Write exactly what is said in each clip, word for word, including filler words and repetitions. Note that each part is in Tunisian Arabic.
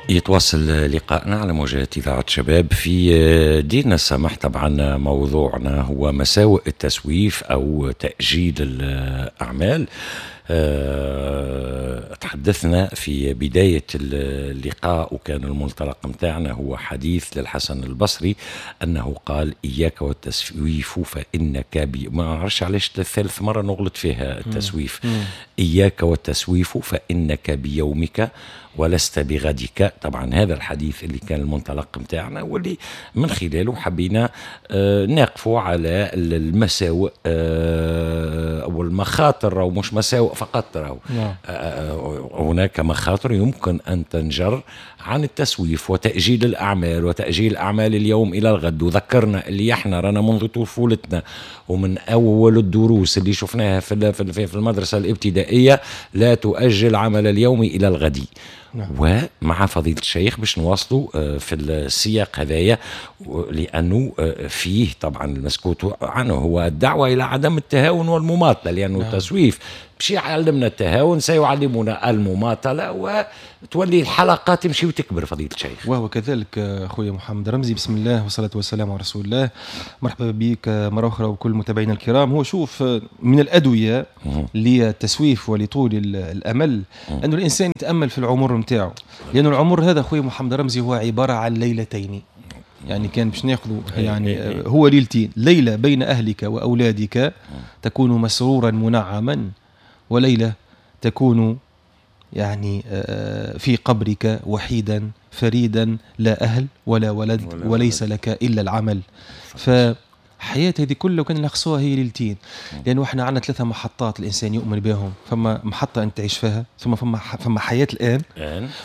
يتواصل لقائنا على موجات إذاعة شباب في ديننا السمح. طبعا موضوعنا هو مساوئ التسويف أو تأجيل الأعمال. أه تحدثنا في بداية اللقاء وكان المنطلق متاعنا هو حديث للحسن البصري أنه قال إياك والتسويف فإنك بي... ما أعرفش علاش ثالث مرة نغلط فيها التسويف. مم. إياك والتسويف فإنك بيومك ولست بغدك. طبعا هذا الحديث اللي كان المنطلق متاعنا واللي من خلاله حبينا آه نقفوا على المساوئ آه أو المخاطر، أو مش مساوئ فقط، راهو آه هناك مخاطر يمكن أن تنجر عن التسويف وتأجيل الأعمال وتأجيل أعمال اليوم إلى الغد. وذكرنا اللي احنا رانا منذ طفولتنا ومن أول الدروس اللي شفناها في في المدرسة الابتدائية لا تؤجل عمل اليوم إلى الغد. نعم. ومع فضيلة الشيخ باش نواصلوا في السياق هذايا، لأنه فيه طبعا المسكوت عنه هو الدعوة إلى عدم التهاون والمماطلة، لأنه نعم. التسويف باش يعلمنا التهاون سيعلمنا المماطلة وتولي الحلقة تمشي وتكبر. فضيلة الشيخ وهو كذلك أخويا محمد رمزي، بسم الله والصلاة والسلام على رسول الله. مرحبا بك مرة أخرى وكل متابعينا الكرام. هو شوف، من الأدوية للتسويف ولطول الأمل أن الإنسان يتأمل في العمر نتاعو، لأن العمر هذا أخويا محمد رمزي هو عبارة عن ليلتين. يعني كان باش ناخذوا يعني هو ليلتين، ليلة بين أهلك وأولادك تكون مسرورا منعما، وليلة تكون يعني في قبرك وحيدا فريدا، لا أهل ولا ولد ولا وليس ولد. لك إلا العمل. فحياة هذه كلها كان نلخصوها هي ليلتين، لأنه احنا عندنا ثلاثة محطات الإنسان يؤمن بهم. فما محطة أنت تعيش فيها، ثم فما فما حياة الآن،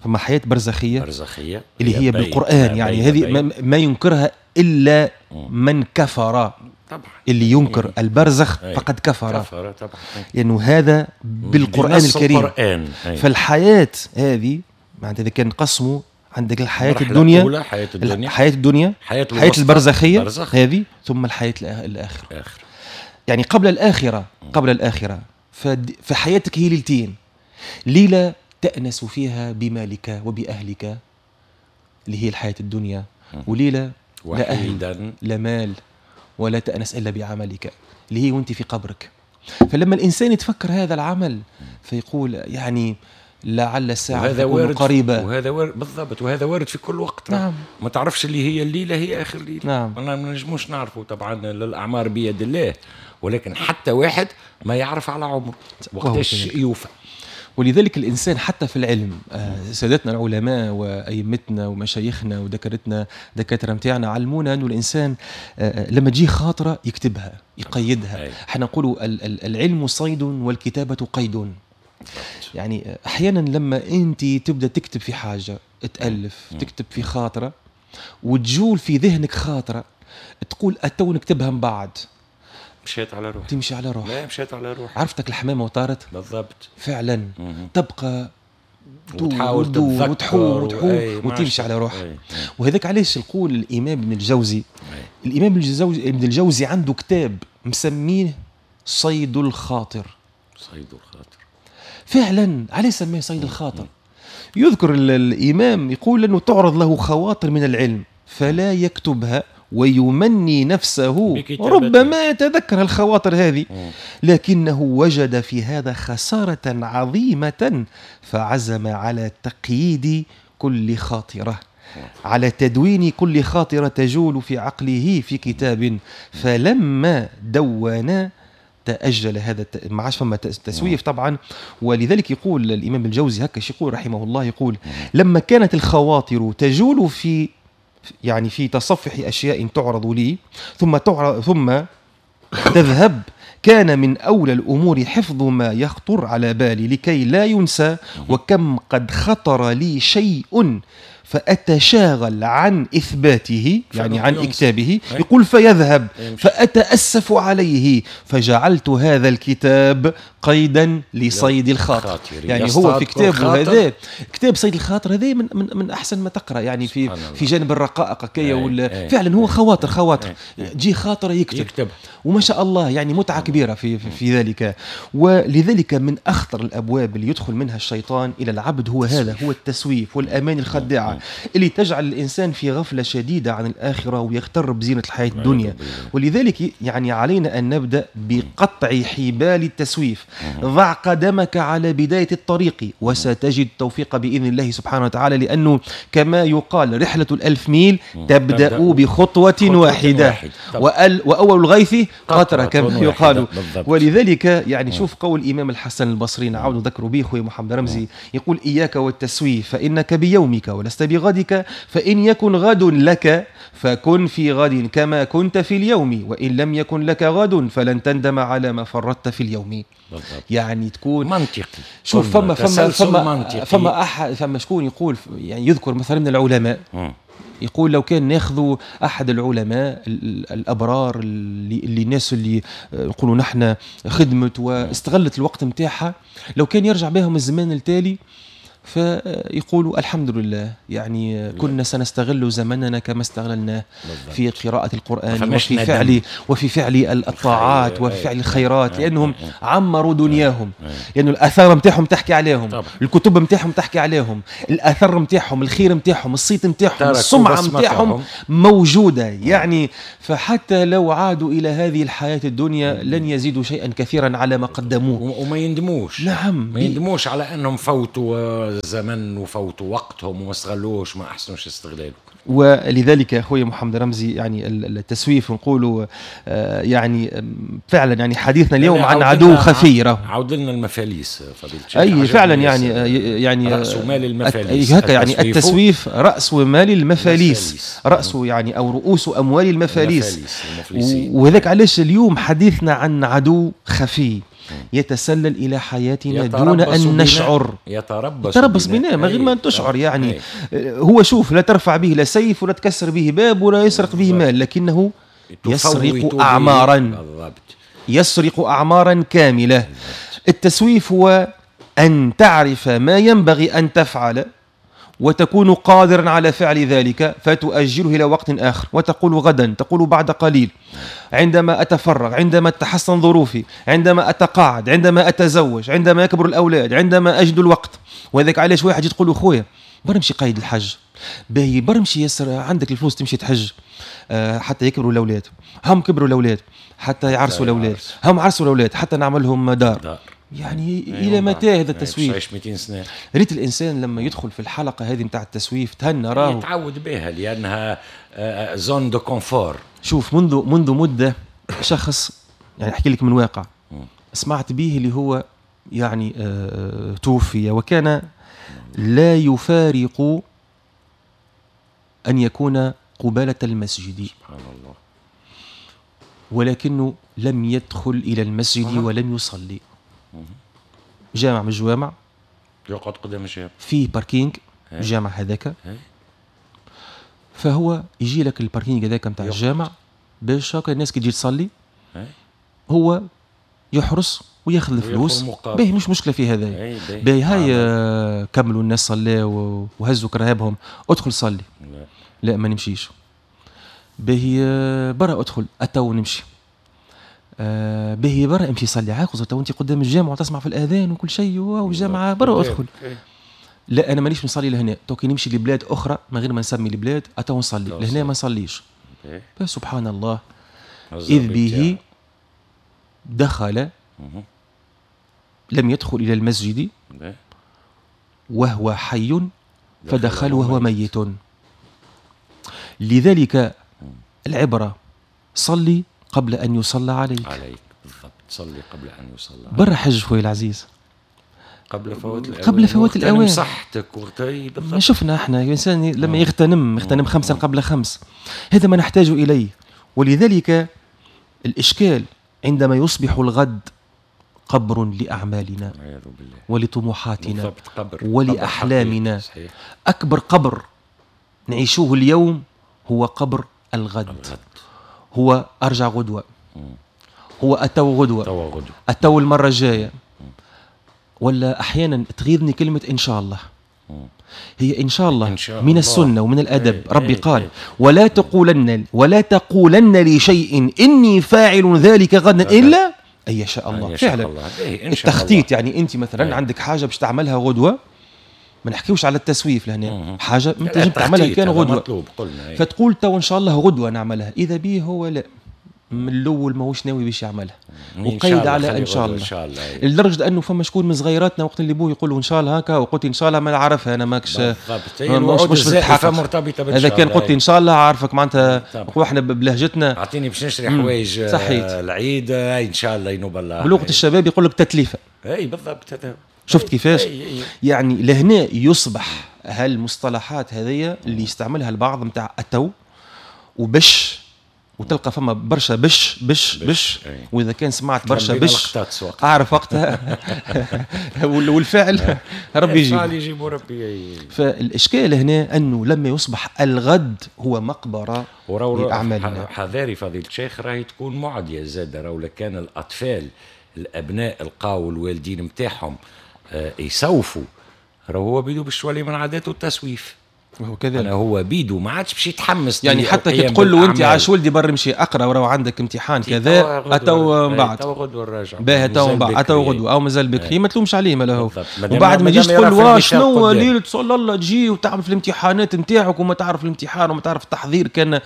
فما حياة برزخية برزخية اللي هي بالقرآن، يعني هذه ما ينكرها إلا من كفر. طبعا اللي ينكر البرزخ فقد كفر، كفر طبعا، لأنه هذا بالقرآن الكريم. القرآن. فالحياة هذه معناتها إذا كان نقسموا، عندك الحياة الدنيا، حياة الدنيا، حياة الدنيا، حياة, حياة البرزخية برزخ. هذه، ثم الحياة الآخرة. آخر. يعني قبل الآخرة، قبل الآخرة فحياتك هي ليلتين، ليلة تأنس فيها بمالك وبأهلك اللي هي الحياة الدنيا، وليلة لا أهل لا مال ولا تأنس إلا بعملك اللي هي وانت في قبرك. فلما الإنسان يتفكر هذا العمل فيقول يعني لعل الساعة تكون قريبة. وهذا وارد بالضبط، وهذا وارد في كل وقت. نعم. ما تعرفش اللي هي الليلة هي آخر ليلة. نعم. ما نجموش نعرفه طبعا، الأعمار بيد الله، ولكن حتى واحد ما يعرف على عمره وقتاش يوفى. ولذلك الإنسان حتى في العلم، سادتنا العلماء وأئمتنا ومشايخنا ودكاترتنا دكاترة متاعنا علمونا أنه الإنسان لما تجي خاطرة يكتبها يقيدها. احنا نقولوا العلم صيد والكتابة قيد. يعني أحيانا لما أنت تبدأ تكتب في حاجة، تألف، تكتب في خاطرة وتجول في ذهنك خاطرة تقول أتو نكتبها من بعد، مشيت على روح، تمشي على روح. لا مشيت على روح، عرفتك الحمامة وطارت. بالضبط فعلا. مم. تبقى وتحاول تدور وتحوم وتحوم وتمشي على روح. وهذاك علاش نقول الإمام ابن الجوزي، أي. الإمام الجوزي ابن الجوزي عنده كتاب مسميه صيد الخاطر. صيد الخاطر فعلا. علاش سميه صيد الخاطر؟ يذكر الإمام يقول أنه تعرض له خواطر من العلم فلا يكتبها ويمني نفسه ربما يتذكر الخواطر هذه، لكنه وجد في هذا خسارة عظيمة فعزم على تقييد كل خاطرة، على تدوين كل خاطرة تجول في عقله في كتاب. فلما دون تأجل هذا، ما عادش فما تسويف طبعا. ولذلك يقول الإمام الجوزي هكا يقول رحمه الله، يقول لما كانت الخواطر تجول في يعني في تصفح أشياء تعرض لي ثم تعرض ثم تذهب، كان من أولى الأمور حفظ ما يخطر على بالي لكي لا ينسى، وكم قد خطر لي شيء فأتشاغل عن إثباته، يعني عن إكتابه، يقول فيذهب فأتأسف عليه، فجعلت هذا الكتاب قيدا لصيد الخاطر. يعني هو في كتابه هذا، كتاب صيد الخاطر هذا من من من أحسن ما تقرأ، يعني في في جانب الرقائق كي ولا فعلا هو خواطر خواطر جي خاطر يكتب. يكتب وما شاء الله، يعني متعة كبيرة في في, في ذلك. ولذلك من أخطر الأبواب اللي يدخل منها الشيطان إلى العبد هو هذا، هو التسويف والأمان الخداعة اللي تجعل الإنسان في غفلة شديدة عن الآخرة ويغتر بزينة الحياة الدنيا. ولذلك يعني علينا أن نبدأ بقطع حبال التسويف. ضع قدمك على بداية الطريق وستجد التوفيق بإذن الله سبحانه وتعالى، لأنه كما يقال رحلة الألف ميل تبدأ بخطوة واحدة، وأول الغيث قطرة كما يقال. ولذلك يعني شوف قول الإمام الحسن البصري، نعاود نذكر به خويا محمد رمزي، يقول إياك والتسويف فإنك بيومك ولست بغدك، فإن يكن غد لك فكن في غد كما كنت في اليوم، وإن لم يكن لك غد فلن تندم على ما فرطت في اليوم. بالضبط. يعني تكون منطقي. شوف فما فما فما فما أحد، فما شكون يقول، يعني يذكر مثلا من العلماء م. يقول لو كان ناخذوا احد العلماء الابرار اللي, اللي الناس اللي نقولوا نحن خدمت واستغلت الوقت نتاعها، لو كان يرجع بهم الزمان التالي فيقولوا الحمد لله، يعني كنا سنستغل زمننا كما استغللناه في قراءة القرآن وفي فعل وفي فعل الطاعات وفي فعل الخيرات، لأنهم عمروا دنياهم، لأنه الآثار نتاعهم تحكي عليهم، الكتب نتاعهم تحكي عليهم، الآثار نتاعهم، الخير نتاعهم، الصيت نتاعهم، السمعة نتاعهم موجودة. يعني فحتى لو عادوا إلى هذه الحياة الدنيا لن يزيدوا شيئا كثيرا على ما قدموه، وما يندموش. نعم، ما يندموش على أنهم فوتوا زمن وفوتوا وقتهم وما استغلوش، ما احسنوش استغلاله. ولذلك يا اخوي محمد رمزي، يعني التسويف نقولوا يعني فعلا، يعني حديثنا اليوم عن عدو خفي. عود لنا المفاليس فضيلة الشيخ. اي فعلا، يعني يعني راس مال المفاليس، هكا يعني التسويف راس مال المفاليس، راس يعني او رؤوس اموال المفاليس. وهذاك علاش اليوم حديثنا عن عدو خفي يتسلل إلى حياتنا دون أن نشعر، يتربص, يتربص بنا من غير ما تشعر. يعني هو شوف، لا ترفع به لا سيف ولا تكسر به باب ولا يسرق به مال، لكنه يسرق أعمارا، يسرق أعمارا كاملة. التسويف هو أن تعرف ما ينبغي أن تفعل وتكون قادرا على فعل ذلك فتؤجله إلى وقت آخر، وتقول غدا، تقول بعد قليل، عندما أتفرغ، عندما تتحسن ظروفي، عندما أتقاعد، عندما أتزوج، عندما يكبر الأولاد، عندما أجد الوقت. وهذاك علاش واحد تقول له خويا برمشي قايد الحج، باهي برمشي ياسر، عندك الفلوس تمشي تحج، أه حتى يكبروا الأولاد، هم كبروا الأولاد حتى يعرسوا الأولاد، هم عرسوا الأولاد حتى نعمل لهم دار, دار. يعني إلى متى هذا التسويف؟ عايش مئتين سنة. ريت الإنسان لما يدخل في الحلقة هذه نتاع التسويف تهنى، راهو يتعود بها لأنها zone de confort. شوف منذ منذ مدة شخص، يعني أحكي لك من واقع سمعت به، اللي هو يعني آه توفي وكان لا يفارق أن يكون قبالة المسجد. سبحان الله. ولكنه لم يدخل إلى المسجد ولم يصلي. جامع من الجوامع يقعد قدام الجامع، فيه parking الجامع هذاك، فهو يجي لك ال parking هذاك نتاع الجامع باش هكا الناس كي تجي تصلي هو يحرس وياخذ الفلوس. باهي مش مشكلة في هذا، باهي هاي آه كملوا الناس صلاوا وهزوا كرهبهم، ادخل صلي. لا, لا ما نمشيش. باهي آه برا ادخل اتو نمشي. آه باهي برا امشي صلي عاقز تو انت قدام الجامع وتسمع في الاذان وكل شيء والجامعة برا ادخل. لا انا مانيش نصلي لهنا، تو كي نمشي لبلاد اخرى من غير ما نسمي البلاد اتو نصلي لهنا، ما نصليش. سبحان الله، اذ به دخل، لم يدخل الى المسجد وهو حي فدخل وهو ميت. لذلك العبرة صلي قبل أن يصلى عليك. عليك بالضبط، صلي قبل أن يصلى عليك. برا حج خويا العزيز قبل فوات الأوان، قبل فوات الأوان، صحتك وغتي بالضبط. شفنا احنا الإنسان لما يغتنم يغتنم خمسا قبل خمس، هذا ما نحتاج إليه. ولذلك الإشكال عندما يصبح الغد قبر لأعمالنا ولطموحاتنا قبر ولأحلامنا. قبر. أكبر قبر نعيشوه اليوم هو قبر الغد. الغد. هو أرجع غدوة، هو أتو غدوة، أتو المرة الجاية. ولا أحيانا تغيظني كلمة إن شاء الله. هي إن شاء الله إن شاء من السنة ومن الأدب. ايه ربي ايه قال ايه ولا تقولن ولا تقولن لشيء إني فاعل ذلك غدا إلا أن يشاء الله. فعلا الله. ايه إن شاء التخطيط الله. يعني أنت مثلا ايه عندك حاجة باش تعملها غدوة، ما نحكيوش على التسويف لهنا، حاجة ما تنجم تعملها كان غدوة، قلنا فتقول تو إن شاء الله غدوة نعملها، إذا به هو لا من الاول ماهوش ناوي باش يعملها وقيد على ان شاء الله, إن شاء الله. لدرجة انه فما شكون من صغيراتنا وقت اللي بوه يقول ان شاء الله هكا، وقلت ان شاء الله ما نعرفها انا ماكش مش مش مرتبطة بالشاء. اذا كان قلت ان شاء الله عارفك معناتها احنا بلهجتنا اعطيني باش نشري حوايج العيد ان شاء الله ينوب الله. بلغه الشباب يقول لك تتليفه. اي بالضبط. شفت كيفاش؟ يعني لهنا يصبح هالمصطلحات هذه اللي يستعملها البعض نتاع اتو وبش، وتلقى فما برشا بش بش بش, بش. واذا كان سمعت برشا بش اعرف وقتها والفعل ربي يجيب الفعل يجيب ربي. فالاشكال هنا انه لما يصبح الغد هو مقبره لاعمالنا. حذاري فضيلة الشيخ راهي تكون معدية زاده، راهو لكان الاطفال الابناء لقاو الوالدين نتاعهم يسوفوا، راهو هو بيدو باش تولي من عاداته التسويف. وهو كذلك هو بيدو ما عادش باش يتحمس. يعني حتى كي تقول له انت عاش ولدي بر مشي اقرا وراه عندك امتحان كذا اتو من بعد تو غدوه الراجع باهي تو من بعد اتو غدوه او مازال بكري ما تلومش عليه ما هو. وبعد ما تجيش تقول له شنو ليلة صلى الله تجي وتعمل في الامتحانات نتاعك وما تعرف الامتحان وما تعرف التحضير، كان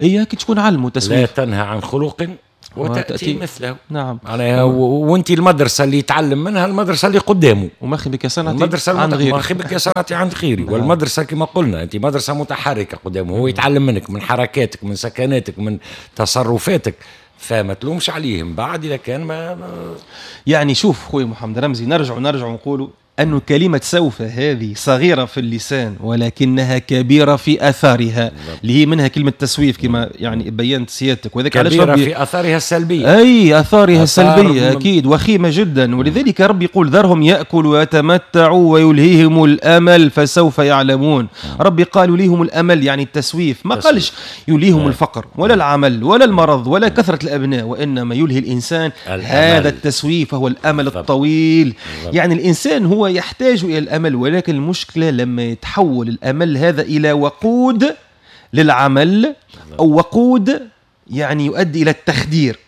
اياك تكون علمه تسويف. لا تنهى عن خلق وتأتي مثله. نعم. معناها وانت المدرسة اللي يتعلم منها المدرسة اللي قدامه. ومخي بك صنعتي المدرسة عند غيري. مخي بك صنعتي عند غيري. نعم. والمدرسة كما قلنا انت مدرسة متحركة قدامه، هو يتعلم منك من حركاتك من سكناتك من تصرفاتك، فما تلومش عليهم بعد إذا كان ما يعني. شوف خويا محمد رمزي، نرجع ونرجع ونقولوا أن كلمة سوف هذه صغيرة في اللسان ولكنها كبيرة في أثارها، اللي هي منها كلمة تسويف كما يعني بينت سيادتك. وذلك علاش كبيرة في أثارها السلبية. أي أثارها السلبية أكيد وخيمة جدا. ولذلك ربي يقول ذرهم يأكلوا ويتمتعوا ويلهيهم الأمل فسوف يعلمون. ربي قال يلهيهم الأمل يعني التسويف، ما قالش يلهيهم الفقر ولا العمل ولا المرض ولا كثرة الأبناء، وإنما يلهي الإنسان هذا التسويف وهو الأمل الطويل. يعني الإنسان هو يحتاج إلى الأمل، ولكن المشكلة لما يتحول الأمل هذا إلى وقود للعمل أو وقود يعني يؤدي إلى التخدير.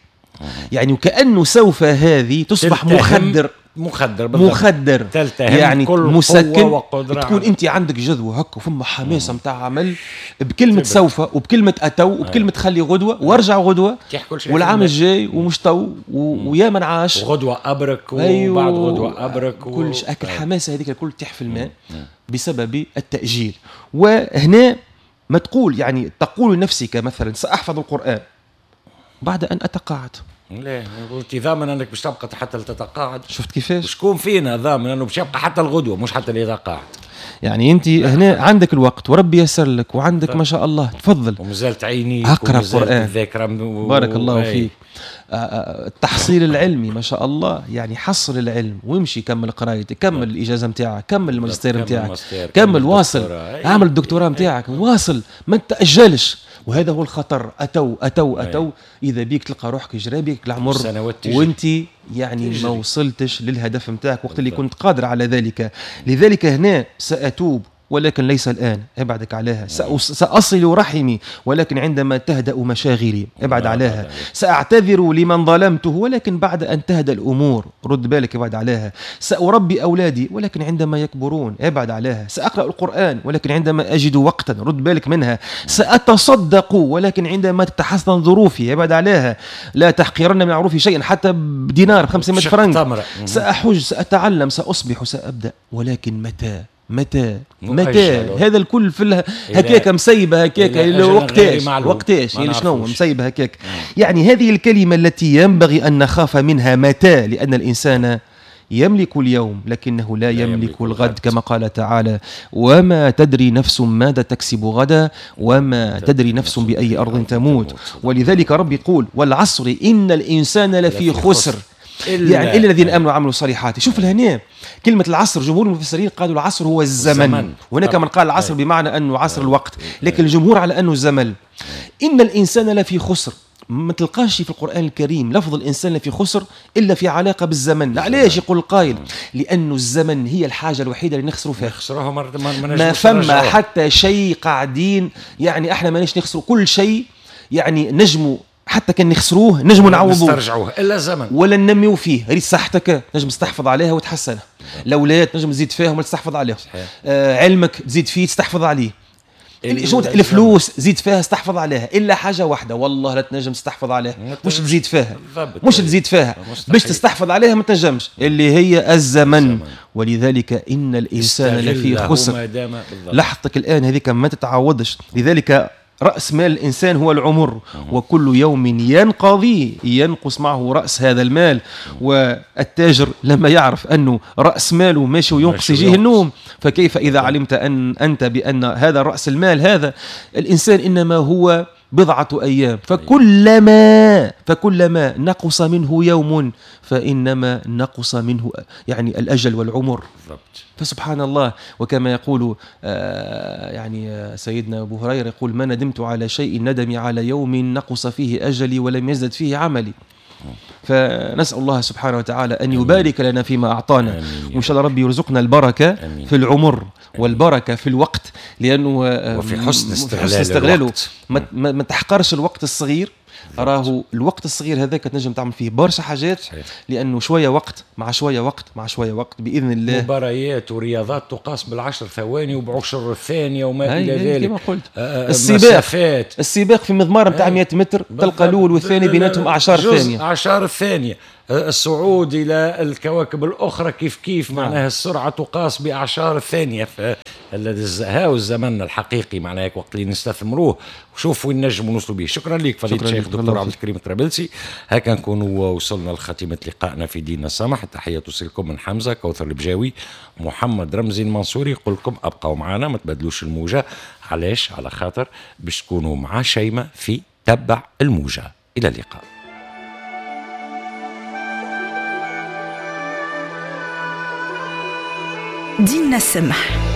يعني وكأنه سوف هذه تصبح مخدر مخدر بالضبط. مخدر يعني كل مسكن. تكون انت عندك جذوة هكا وفما حماسه نتاع عمل بكلمه سوف وبكلمه اتو وبكلمه خلي غدوه وارجع غدوه والعام الجاي ومش تو ويا من عاش وغدوه ابرك وبعد غدوه ابرك و... كلش اكل حماسه هذيك الكل تيح في الماء بسبب التاجيل. وهنا ما تقول يعني تقول لنفسك مثلا ساحفظ القران بعد ان اتقاعد. لا انت ضامن انك باش تبقى حتى تتقاعد؟ شفت كيفاش؟ شكون فينا ضامن انه باش يبقى حتى الغدوه مش حتى اللي يتقاعد؟ يعني انت هنا عندك الوقت وربي يسر لك وعندك ما شاء الله تفضل، ومازالت عينيك اقرا القران الذاكرة و... بارك الله فيك. التحصيل العلمي ما شاء الله، يعني حصل العلم وامشي كمل قرايتك، كمل الاجازة نتاعك، كمل الماجستير نتاعك، كمل واصل، اعمل الدكتوراه نتاعك، واصل، ما تاجلش. وهذا هو الخطر. اتو اتو اتو اذا بيك تلقى روحك جرى بيك العمر وانت يعني تجري. ما وصلتش للهدف نتاعك وقت اللي كنت قادر على ذلك. لذلك هنا ساتوب ولكن ليس الآن، ابعدك عليها. سأصل رحمي ولكن عندما تهدأ مشاغلي، ابعد عليها. سأعتذر لمن ظلمته ولكن بعد أن تهدأ الأمور، رد بالك ابعد عليها. سأربي أولادي ولكن عندما يكبرون، ابعد عليها. سأقرأ القرآن ولكن عندما أجد وقتا، رد بالك منها. سأتصدق ولكن عندما تتحسن ظروفي، ابعد عليها. لا تحقرن من معروفي شيئا حتى بدينار بخمسمائة فرنك. سأحج، سأتعلم، سأصبح، سأبدأ، ولكن متى؟ متى؟ متى؟ هذا الكل في هكاك مسيبه هكاك وقتاش؟ وقتاش يعني شنو مسيبه هكاك؟ يعني هذه الكلمة التي ينبغي ان نخاف منها، متى، لان الانسان يملك اليوم لكنه لا يملك الغد، كما قال تعالى: وما تدري نفس ماذا تكسب غدا وما تدري نفس بأي أرض تموت. ولذلك رب يقول: والعصر إن الإنسان لفي خسر إلا يعني إلا الذين آمنوا وعملوا الصالحات. شوف الهنا كلمة العصر، جمهور المفسرين قالوا العصر هو الزمن, الزمن. هناك من قال العصر بمعنى أنه عصر الوقت، لكن الجمهور على أنه الزمن. إن الإنسان لفي خسر، ما تلقاش في القرآن الكريم لفظ الإنسان لفي خسر إلا في علاقة بالزمن. علاش يقول القائل؟ لأنه الزمن هي الحاجة الوحيدة اللي نخسروا فيها، نخسروها ما, ما فما حتى شيء قاعدين يعني احنا ماناش نخسروا كل شيء، يعني نجموا حتى كان نخسروه نجموا نعوضوه نسترجعوه الا الزمن ولا ننميو فيه. ريت صحتك نجم تستحفظ عليها وتحسنها، الاولاد نجم تزيد فيهم وتستحفظ عليهم، آه علمك تزيد فيه تستحفظ عليه، الفلوس زيد فيها استحفظ عليها، الا حاجة واحدة والله لا تنجم تستحفظ عليها، مش تزيد فيها، مش تزيد فيها باش تستحفظ عليها ما تنجمش، اللي هي الزمن. ولذلك ان الانسان لفي خسر. لحظتك الان هذيك ما تتعوضش. لذلك رأس مال الإنسان هو العمر، وكل يوم ينقضي ينقص معه رأس هذا المال. والتاجر لما يعرف أنه رأس ماله ماشي وينقص يجيه النوم، فكيف إذا علمت أن أنت بأن هذا رأس المال هذا الإنسان إنما هو بضعة أيام، فكلما فكلما نقص منه يوم فإنما نقص منه يعني الأجل والعمر. فسبحان الله. وكما يقول آه يعني سيدنا أبو هريرة يقول ما ندمت على شيء ندمي على يوم نقص فيه أجلي ولم يزدد فيه عملي. فنسأل الله سبحانه وتعالى أن يبارك لنا فيما أعطانا، وإن شاء الله ربي يرزقنا البركة أمين. في العمر والبركة في الوقت، لأنه وفي حسن استغلال استغلاله. الوقت. ما, ما تحقرش الوقت الصغير، راهو الوقت الصغير هذاك تنجم تعمل فيه برشا حاجات، صحيح. لأنه شوية وقت مع شوية وقت مع شوية وقت بإذن الله. مباريات ورياضات تقاس بالعشر ثواني وبعشر الثانية وما إلى ذلك. كما قلت آه السباق السباق في مضمار نتاع مئة متر تلقى الأول والثاني بيناتهم أعشار ثانية، أعشار الثانية. الصعود إلى الكواكب الأخرى كيف كيف، معناها السرعة تقاس بأعشار الثانية. هاو الزمن الحقيقي معناها وقت اللي نستثمروه وشوفوا وين نجموا نوصلوا به. شكرا لك فضيلة الشيخ دكتور عبد الكريم الطرابلسي. هكا نكونوا وصلنا لخاتمة لقائنا في ديننا السمح. التحية توصلكم من حمزة كوثر البجاوي، محمد رمزي المنصوري. يقول لكم أبقوا معنا ما تبدلوش الموجة. علاش؟ على خاطر باش تكونوا مع شيماء في تبع الموجة. إلى اللقاء. ديننا السمح.